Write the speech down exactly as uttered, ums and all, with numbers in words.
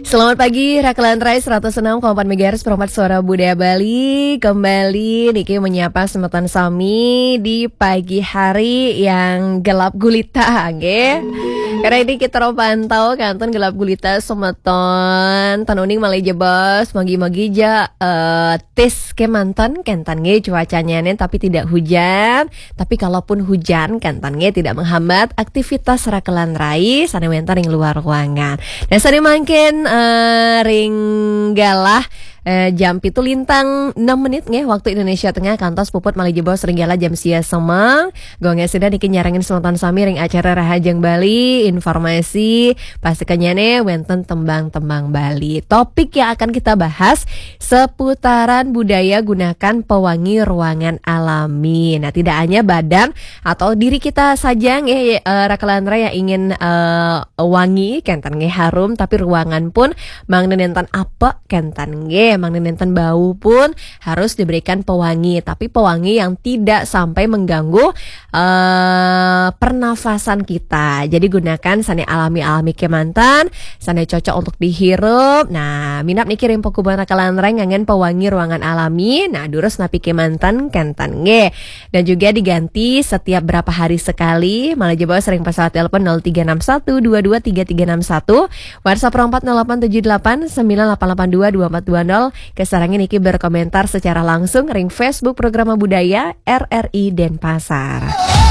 Selamat pagi, Rakelan Rai seratus enam koma empat megahertz, perempat suara Budaya Bali. Kembali niki menyapa semeton sami di pagi hari yang gelap gulita, nggih. Karena ini kita ro pantau kanten gelap gulita semeton. Ten uning malih jebos, magi-magi ja eh, tis kemanten kenten nggih cuacanya nih, tapi tidak hujan. Tapi kalaupun hujan kenten nggih tidak menghambat aktivitas Rakelan Rai sane wenten ring luar ruangan. Nah, sane mangkin eh, ring galah eh, jam pitu lintang enam menit nggih waktu Indonesia Tengah, kantos puput malih jebos ring galah jam sia semeng. Gong sida niki nyarengin semeton sami ring acara Rahajeng Bali, informasi, pasti kenyane wenten tembang-tembang Bali. Topik yang akan kita bahas seputaran budaya gunakan pewangi ruangan alami. Nah, tidak hanya badan atau diri kita saja nggih, eh, Rakelan Rai yang ingin eh, wangi, kenten nggih harum, tapi ruangan pun mangda nenten apek kenten nggih, mangda nenten bau pun harus diberikan pewangi, tapi pewangi yang tidak sampai mengganggu eh, pernafasan kita. Jadi gunakan sane alami-alami kemanten, sane cocok untuk dihirup. Nah, minab niki ring pakubuhan Rakelan Rai nganggen pewangi ruangan alami. Nah, durus napi kemanten kenten nggih. Dan juga diganti setiap berapa hari sekali. Malih jebos ring pesawat telepon nol tiga enam satu dua dua tiga tiga enam satu, WhatsApp empat nol delapan tujuh delapan sembilan delapan delapan dua dua empat dua nol. Kasarengin niki berkomentar secara langsung ring Facebook Programa Budaya R R I Denpasar.